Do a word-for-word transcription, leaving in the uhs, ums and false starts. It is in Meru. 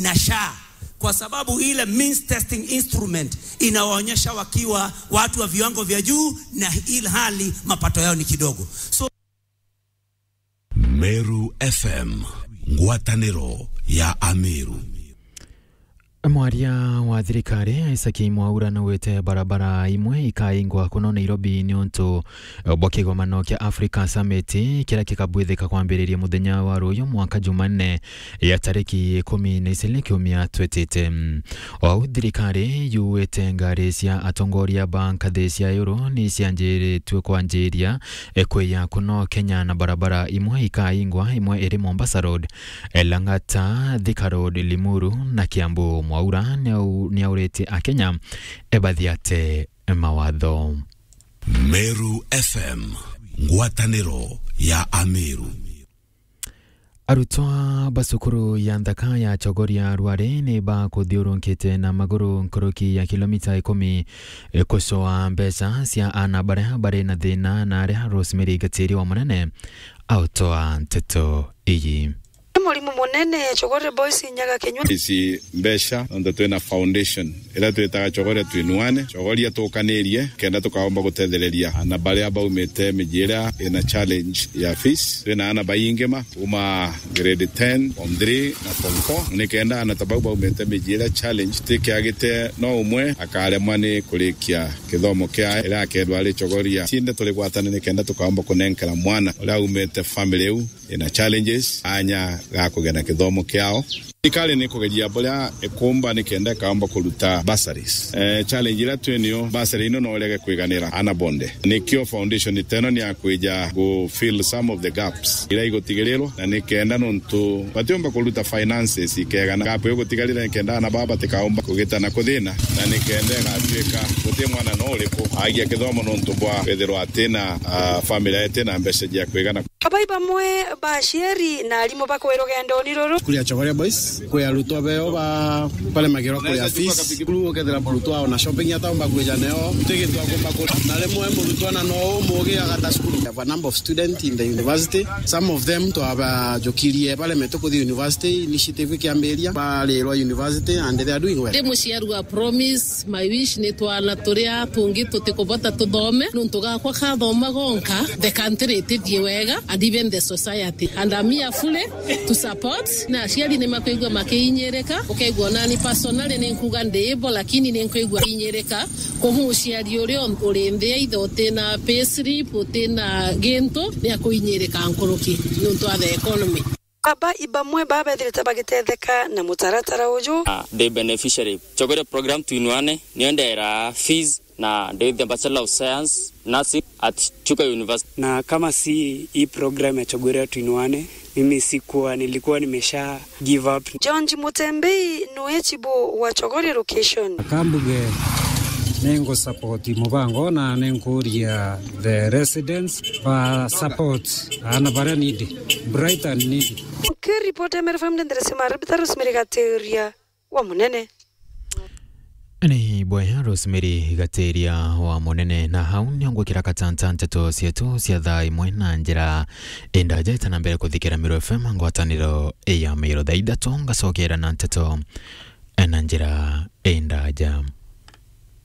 na SHA, kwa sababu ile means testing instrument inawaonyesha wakiwa watu wa viwango vya juu na ilhali mapato yao ni kidogo. So Meru F M, ngwatanĩro ya Ameru. Mwaria wa thirikari Isaac Mwaura naugite barabara imwe ikaingwa kuno Nairobi ni untu bwa kigomano kia Africa Summit kiria kikabwithika kwambiriria muthenya wa ruyu mwanka Jumanne ya tariki ikumi na iciri kiumia twitite. Ou thirikari yuwite ngari cia atongoria ba nkathi cia iguru ni cianjiritue kwanjiria e, kwiya kuno Kenya na barabara imwe ikaingwa, imwe iri Mombasa Road, e, Lang'ata, Thika Road, Limuru na Kiambu. Mwaura niau-, niauritie Akenya, e, bathiate mawatho. Meru F M, ngwatanĩro ya Ameru. Arutwa ba cukuru ya nthaka ya Chogoria Rware ni bakuthiurunkite na maguru nkuruki ya kilomita ikumi, e, kucoa mbeca cia ana baria bari na thina na aria Rosemary Gatiri wa Munene autoa nteto iyi. Murimu munene, Chogoria Boys inyaga kinyua. Ici mbeca, nontu twina foundation iria twitaga Chogoria Tuinuane, Chogoria tukanirie, kenda tukaomba gutethereria ana baria baumite miji iria ina challenge ya fees. Twina ana baingi ma kuma grade ten, form three na form four. Ni kenda ana ta bau baumite miji iria challenge tikiagite, no umwe akaremwa ni kurikia kithomo kiae iria akethwa ari Chogoria. Cinde turi gwatane ni kenda tukaomba kunenkera mwana uria aumite family iu ina challenges anya ga kugena kithomo kiao. Thirikari ni kugeria buria ikumba ni kenda ikaomba kuruta bursaries. Eh, challenge iria twi nio, bursary ino no irege kwiganira ana bonde. Nikio foundation iteno ni ya kwija gu fill some of the gaps iria igutigirirwa, na ni kenda nontu batiumba kuruta finances ikegana. Gap igutigarira ni kenda ana baba batikaumba kugitana kuthina, na ni kenda igatuika guti mwana no uriku agia kithomo nontu bwa kwithirwa atina, ah, family itina mbeca cia kwigana. Abai bamwe ba aciari na arimu bakwirwa rugendoni ruru. Cukuru ya Chogoria Boys, kwi arutwa beo ba, baremagirwa kuria fees. Cukuru ukethira murutwa ona shopping ataumba kwija neo, ti gintu akumba kugura. Na rimwe murutwa na no umugi agata cukuru. We have a number of students in the university. Some of them twabajukirie baremetwe kuthi university, initiative ikiambiria, barirwa university and they are doing well. Ndi muciari wa Promise, my wish ni twana turia tungi tutikubota tuthome, nontu gakwa kathoma gonka, the country itithie wega, and even the society. And I'm here fully to support. Na aciari ni makwigua makiinyirika, ukaigua nani personally ni nkuga ndi bo, lakini ni nkwigua inyirika. Koguo muciari uria uri nthia ithe utina payslip, utina gintu, ni akuinyirika nkuruki nontu wa the economy. Aba ibamwe babethirite bagitetheka na mutaratara uju. Ah, the beneficiary. Chogoria program Tuinuane, nio ndera fees na ndi the Bachelor of Science, Nursing at Chuka University. Na kama si hii program ya Chogoria Tuinuane, mimi sikuwa, nilikuwa nimesha give up. George Mutembei nwe chibu wa Chogoria location. Kambuge, nengo support mubango na nenkuria the residents ba support ana baria needy, bright and needy. Nkiripoti ya Meru F M, ndendere sima Rebecca Rosemary Gateria wa Munene. Ni bwega Rosemary Gateria wa Munene, na hau nio ngwikira katanta nteto cietu cia thaa imwe na njira indaja itana mbere kuthikira Meru F M ngwataniro ya Meru. Thaa ithatu ngacokera na nteto na njira indaja.